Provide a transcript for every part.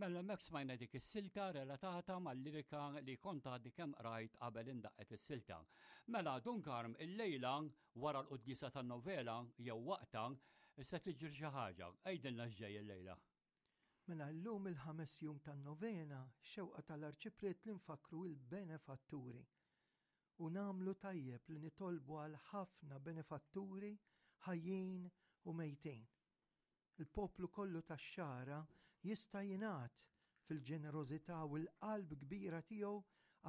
Mela hemmhekk smajna dik is-silta relatata mal-lirika li kont għadni kemm qrajt qabel indaqqet is-silta. Mela Dun Karm illejla wara l-quddiesa tan-novela jew waqtha se tiġri xi ħaġa. Għidilna x'ġej illejla. Mela llum il-ħames jum tan-novena, xewqa tal-Arċipriet li nfakkru il-benefatturi. U nagħmlu tajjeb li nitolbu għal ħafna benefatturi ħajjin u mejtin. Il-poplu kollu tax-Xagħra jista' jingħad fil-ġenerożità u l-qalb kbira tiegħu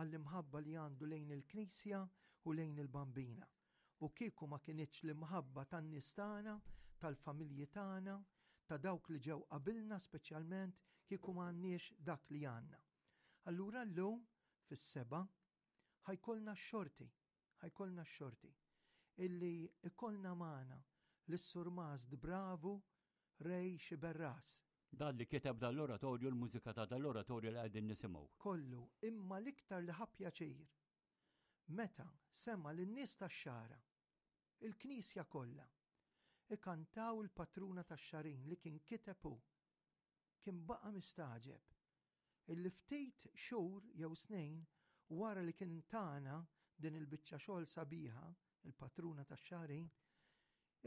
għall-imħabba li għandu lejn il-Knisja u lejn il-Bambina. U kieku ma kinitx l-imħabba tan-nies tagħna, tal-familji tagħna, ta' dawk li ġew qabilna speċjalment, kieku ma għandniex dak li għandna. Allura llum fis-sebgħa ħa jkollna x-xorti Ħa jkollna x-xorti illi jkollna magħna lis-Surmast bravu Ray Sciberras. Dan li kiteb dan l-oratorju, l-mużika ta' dan l-oratorju li qegħdin nisimgħu. Kollu, imma l-iktar li ħa pjaċir meta sema' lin-nies tax-Xagħra, il-Knisja kollha, ikantaw il-Patruna tax-Xagħrin li kien kiteb hu. Kien baqa' mistagħġeb illi ftit xhur jew snin wara li kien tana din il-biċċa xogħol sabiħa, il-Patruna tax-Xagħrin,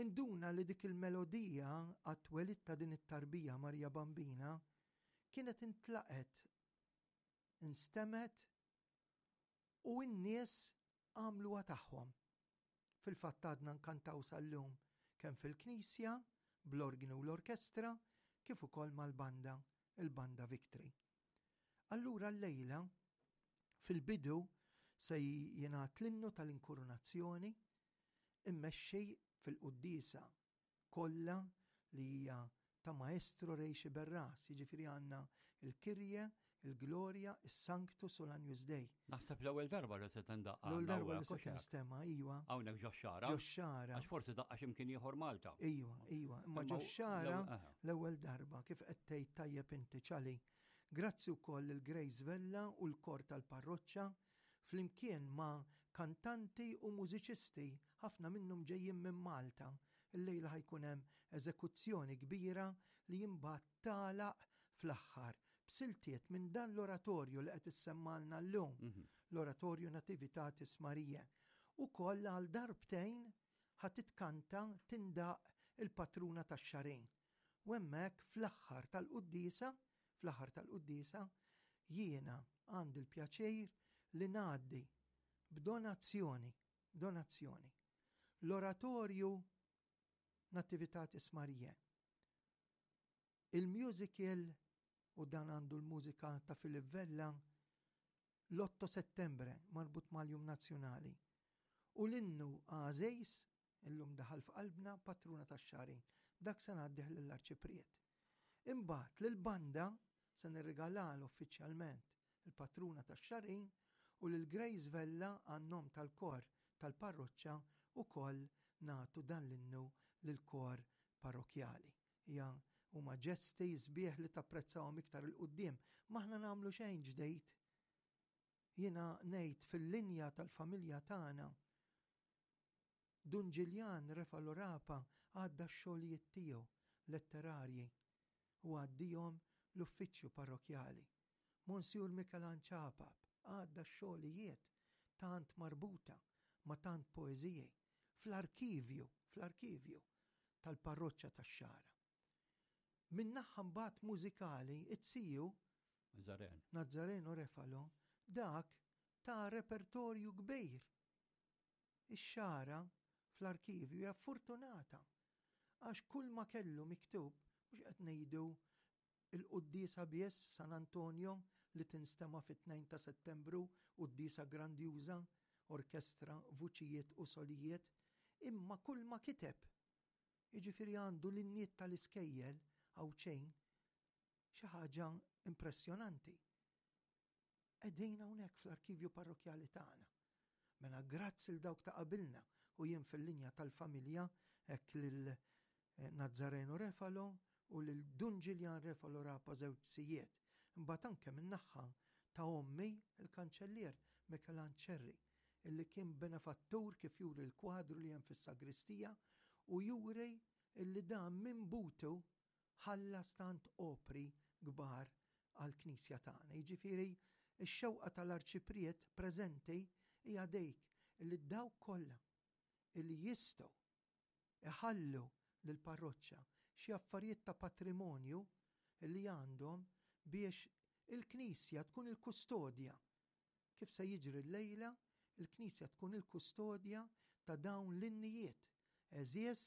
induna li dik il-melodija għat-twelid ta' din it-tarbija Marija Bambina kienet intlaqgħet, instemgħet u n-nies għamluha tagħhom. Fil-fatt għadna nkantaw sal-lum kemm fil-knisja, bl-orgni u l-orkestra, kif ukoll mal-banda, il-Banda Victory. Allura llejla, fil-bidu se jingħad l-innu tal-inkurunazzjoni immexxi fil-quddiesa kollha li hija ta' Maestro Ray Sciberras, jiġifieri għandna il-Kyrie, il-Gloria, is-Sanctus u l-Agnus Dei. Naħseb l-ewwel darba li se tindaqqa. L-ewwel darba li se tinstema', iwa. Hawnhekk ġo xara. Ġo xara. Għax forsi daqqa x'imkien ieħor Malta. Iwa, iwa, imma ġo xara l-ewwel darba kif qed tgħid tajjeb inti ċali. Grazzi wkoll lil Grace Vella u l-kor tal-parroċċa flimkien ma' kantanti u mużiċisti, ħafna minnhom ġejjin minn Malta. Illejla ħa jkun hemm eżekuzzjoni kbira li imbagħad tagħlaq fl-aħħar b'siltiet minn dan l-oratorju li qed issemmalna llum, l-Oratorju Nativitatis Mariae. Ukoll għal darbtejn ħa titkanta tindaqq il-Patruna tax-Xagħrin. U hemmhekk fl-aħħar tal-quddiesa, fl-aħħar tal-quddiesa, jiena għandi l-pjaċir li ngħaddi b'donazzjoni, donazzjoni, l-oratorju Nativitatis Mariae, il-musical u dan għandu l-mużika ta' Philip Vella, l-Otto Settembre marbut mal-Jum Nazzjonali u l-innu Għażejs Illum daħal f'qalbna patruna tax-xagħrin. Dak se ngħaddih lill-Arċipriet. Imbagħad lill-banda se nirrigalal uffiċjalment il-patruna tax-xagħrin u lil Grace Vella għan-nom tal-kor tal-parroċċa wkoll nagħtu dan l-innu lill-kor parrokkjali. Hija huma ġesti sbieħ li tapprezzahom iktar 'il quddiem. M'aħna nagħmlu xejn ġdid. Jiena ngħid fil-linja tal-familja tagħna Dun Ġiljan Refalo Rapa għadda x-xogħlijiet tiegħu letterarji u għaddihom l-uffiċċju parrokkjali. Monsiur Mikelan Ċapap għadda x-xogħlijiet tant marbuta ma' tant poeżiji fl-arkivju, fl-arkivju tal-parroċċa tax-Xagħra. Min-naħa mbagħad mużikali, it-siju Nazareno. Nazareno Refalo, dak ta' repertorju kbir Ix-xagħra fl-arkivju hija fortunata għax kull ma kellu miktub, mhux qed ngħidu il-quddiesa biss San Antonio li tinstema' fit-2 ta' Settembru, quddiesa grandjuża, orkestra, vuċijiet u solijiet, imma kull ma kiteb. Jiġifieri għandu l-inniet tal-iskejjel Għawdxejn, xi ħaġa impressjonanti. Qegħdin hawnhekk fl-arkivju parrokkjali tagħna. Mela grazzi 'l dawk ta' qabilna u jien fil-linja tal-familja hekk lil eh, Nazzareno Refalo u lil Dun Ġiljan Refalo Rapa żewġ sijiet. Imbagħad anke min-naħa ta' ommi il-kanċellier Mikelan Ċerri illi kien benefattur kif juri l-kwadru li hemm fis-sagristija u juri illi dan minn butu ħallas tant opri kbar għall-Knisja tagħna. Jiġifieri x-xewqa tal-Arċipriet preżenti hija dik li dawk kollha li jistgħu iħallu lill-parroċċa xi affarijiet ta' patrimonju li għandhom biex il-Knisja tkun il-kustodja Kif se jiġri llejla, il-Knisja tkun il-kustodja ta' dawn l-innijiet għeżież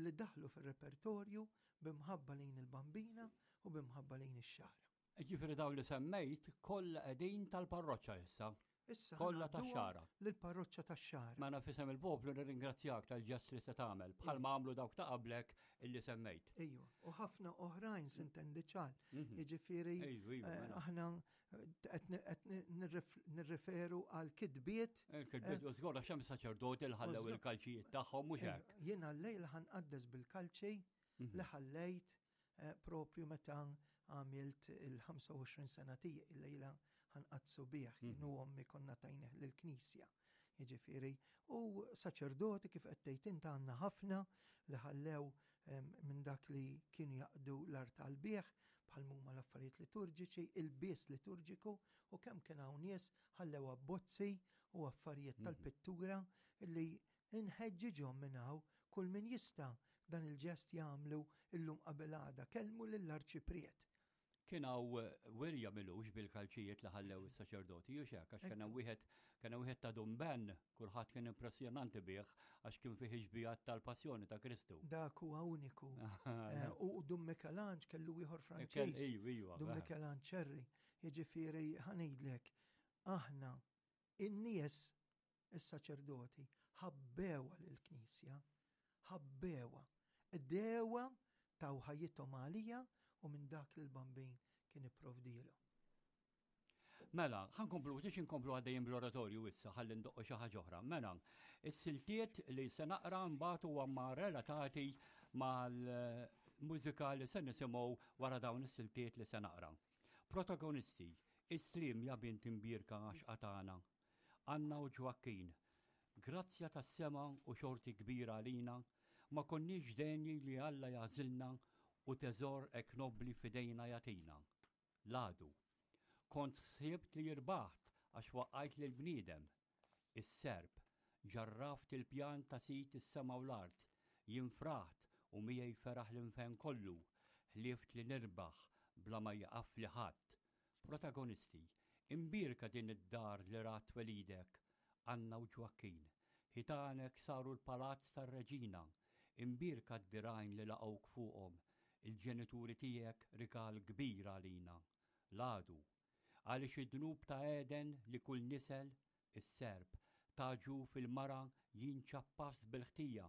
li daħlu fir-repertorju bi mħabba lejn il-Bambina u bi mħabba lejn ix-Xagħra. Jiġifieri dawn li semmejt kollha qegħdin tal-parroċċa issa. Issa Kollha tax-Xagħra. Lill-parroċċa tax-Xagħra. Mela f'isem il-poplu nirringrazzjak tal-ġest li se tagħmel, bħalma għamlu dawk ta' qablek illi semmejt. Ejwa, u ħafna oħrajn sintendi ċar. Jiġifieri mela. aħna qed nirreferu għal kitbiet. Il-kitbiet, u żgur għax hemm saċerdoti li ħallew il-kalċijiet tagħhom mhux hekk. Jiena llejla ħanqaddes bil-kalċi li ħallejt propju meta għamilt il-25 sena tiegħi illejla ħanqaddsu bih, jien u ommi konna tajnih lill-Knisja. Jiġifieri, u saċerdoti kif qed tgħid int għandna ħafna li ħallew minn dak li kienu jaqdu l-artal bih, bħal m'huma l-affarijiet liturġiċi, il-bies liturġiku, u kemm kien hawn nies ħallew abbozzi u affarijiet tal-pittura li nħeġġiġhom minn hawn kull min jista' dan il-ġest jagħmlu illum qabel għada, kellmu lill-Arċipriet. Kien hawn wirja m'ilux bil-kalċijiet li ħallew is-saċerdoti, hux hekk? Għax kien hemm wieħed kien hemm wieħed ta' Dun Ben, kulħadd kien impressjonanti bih għax kien fih ix-xbijat tal-Passjoni ta' Kristu. Dak huwa uniku. U Dun Mikelanġ kellu ieħor Franċiż. Dun Mikelanġ Ċerri. Jiġifieri ħa ngħidlek, aħna in-nies is-saċerdoti ħabbewha lill-Knisja, ħabbewha, qdewha, taw ħajjithom għaliha u minn dak li l-Bambin kien ipprovdielhom. Mela, ħa nkomplu, biex inkomplu għaddejjin bl-oratorju issa, ħalli ndoqqu xi ħaġa oħra. Mela, is-siltiet li se naqra mbagħad huwa ma relatati mal-mużika li se nisimgħu wara dawn is-siltiet li se naqra. Protagonisti, is-sliem ja bint imbierka għaxqa tagħna, Anna u Ġwakkin, grazzja tas-sema u xorti kbira għalina, ma konniex denji li Alla jagħżilna u teżor hekk nobbli f'idejna jagħtina. L-għadu. Kont ħsibt li irbaħt għax waqqajt lill-bniedem. Is-serp. Ġarraft il-pjan ta' Sid is-sema u l-art. Jien fraħt u miegħi feraħ l-infern kollu. Ħlieft li nirbaħ bla ma jieqafli ħadd. Protagonisti, Imbierka din id-dar li rat twelidek, Anna u Ġwakkin. Ħitanek saru l-palazz tar-reġina. Imbierka d-dirgħajn li laqgħuk fuqhom. Il-ġenituri tiegħek rigal kbir għalina. L-għadu. Għaliex id-dnub ta' Għeden li kull nisel, is-serp, ta' ġuf il-mara jien ċappast bil-ħtija.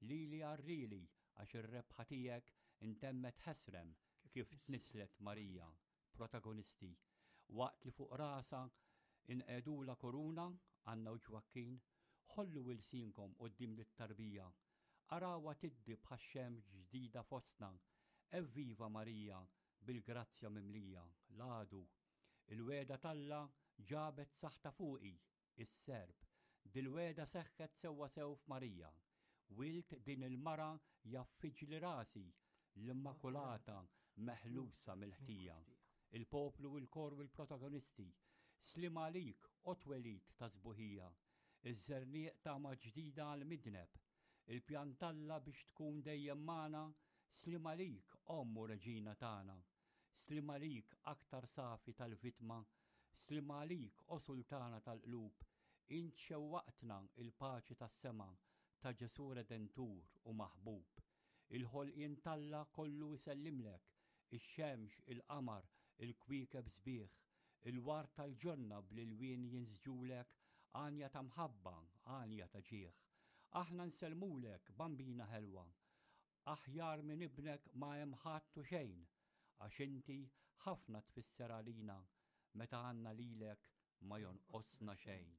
Lili għarrieli għax ir-rebħa tiegħek intemmet ħesrem kif tnisslet Marija. Protagonisti, Waqt li fuq rasha inqegħdulha kuruna, Anna u Ġwakkin, ħollu ilsienkom quddiem lit-tarbija. Arawha tiddi bħax-xemx ġdida fostna. Evviva Marija, bil-grazzja mimlija, l-għadu. Il-wegħda t'Alla ġabet saħta fuqi, Is-Serb. Dil-wegħda seħħet sewwasew f'Marija. Wild din il-mara jgħaffiġli rasi, l-Immakulata meħlusa mill-ħtija. Il-poplu, il-kor u l-protagonisti. Sliem għalik, o twelid ta' sbuħija! Iż-żerniq tama ġdida għall-midneb. Il-pjan t'Alla biex tkun dejjem magħna, sliem għalik, Omm u Reġina tagħna. Sliem għalik, aktar safi tal-vittma, sliem għalik, o Sultana tal-qlub, int xewwaqtna il-paċi tas-sema ta' Ġesù Redentur u maħbub. Il-ħolqien t'Alla kollu jsellimlek, ix-xemx, il-qamar, il-kwiekeb sbieħ, il-ward tal-ġonna bl-ilwien jinsġulek għanja ta' mħabba, għanja ta' ġieħ. Aħna nsellmulek, Bambina ħelwa, Aħjar minn ibnek ma hemm ħadd u xejn, għax inti ħafna tfisser għalina, meta għandna lilek ma jonqosna xejn.